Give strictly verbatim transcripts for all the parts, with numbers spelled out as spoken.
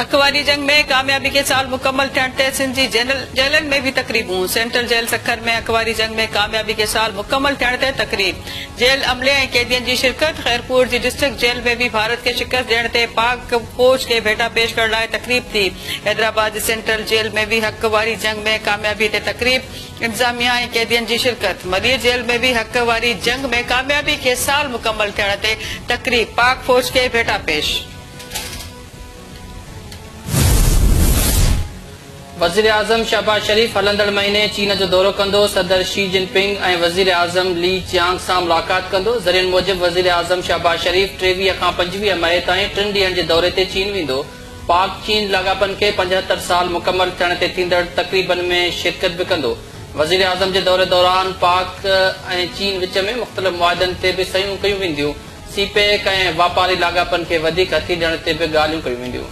हक़ वारी जंग में कामयाबी खे साल मुकमल थियण ते सिंध जी जेलनि में बि तक़रीबूं। सेंट्रल जेल सखर में हक़ वारी जंग में कामयाबी खे साल मुकमल थियण ते तक़रीब। जेल अमले ऐं कैदियुनि जी शिरकत। ख़ैरपुर जी डिस्ट्रिक्ट जेल में बि भारत खे शिकस्त ॾियण ते पाक फ़ौज खे भेटा पेश करण लाइ तक़रीब थी। हैदराबाद जी सेंट्रल जेल में बि हक़ वारी जंग में कामयाबी ते तक़रीब, इंतिज़ामिया ऐं कैदियुनि जी शिरकत। मलीर जेल में बि हक़ वारी जंग में कामयाबी खे साल मुकमल थियण ते तक़रीब, पाक फ़ौज खे भेटा पेश। वज़ीर आज़म शहबाज शरीफ हलंदड़ महीने चीन जो दौरो कंदो। सदर शी जिनपिंग ऐं वज़ीर आज़म ली चियांग सां मुलाक़ात कंदो। ज़रियनि मूजिबि वज़ीर आज़म शहबाज शरीफ टेवीह खां पंजवीह मई ताईं टिनि ॾींहनि जे दौरे ते चीन वेंदो। पाक चीन लाॻापनि खे पंजहतरि साल मुकमल थियण ते थींदड़ तक़रीबनि में शिरकत बि कंदो। वज़ीर आज़म जे दौरे दौरान पाक ऐं चीन विच में मुख़्तलिफ़ मुआहिदनि ते बि सहियूं कयूं वेंदियूं। सी पैक ऐं वापारी लाॻापनि खे वधीक हथी ॾियण ते बि ॻाल्हियूं कयूं वेंदियूं।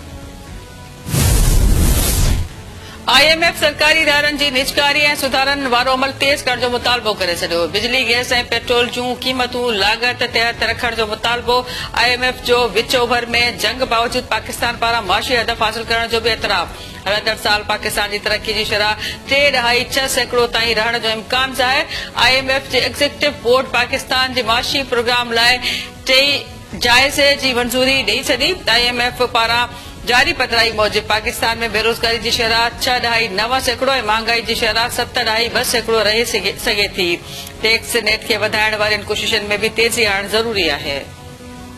I am F सरकारी इदारनि जी निजकारी ऐं सुधारनि वारो अमल तेज़ करण जो मुतालबो करे छॾियो। बिजली, गैस ऐं पेट्रोल जूं क़ीमतूं लागत तहत रखण जो मुतालबो। I am F जो विच ओभर में जंग बावजूद पाकिस्तान पारां माशी हदफ हासिल करण जो बि एतराफ़। हलंदड़ साल पाकिस्तान जी तरक़ी जी शरह टे ॾहाई छह सैकड़ो ताईं रहण जो इम्कान ज़ाहिर। I am F जे एग्जीक्यूटिव बोर्ड पाकिस्तान जे माशी प्रोग्राम लाइ टे जायज़े जी मंज़ूरी ॾेई छॾी। I am F पारां जारी पधराई मूजिबि पाकिस्तान में बेरोज़गारी जी शरह छह ॾहाई नव सैकड़ो ऐं महांगाई जी शरह सत ॾहाई ॿ सैकड़ो रही सघे थी। टैक्स नेट खे वधाइण वारियुनि कोशिशनि में बि तेज़ी आणणु ज़रूरी आहे।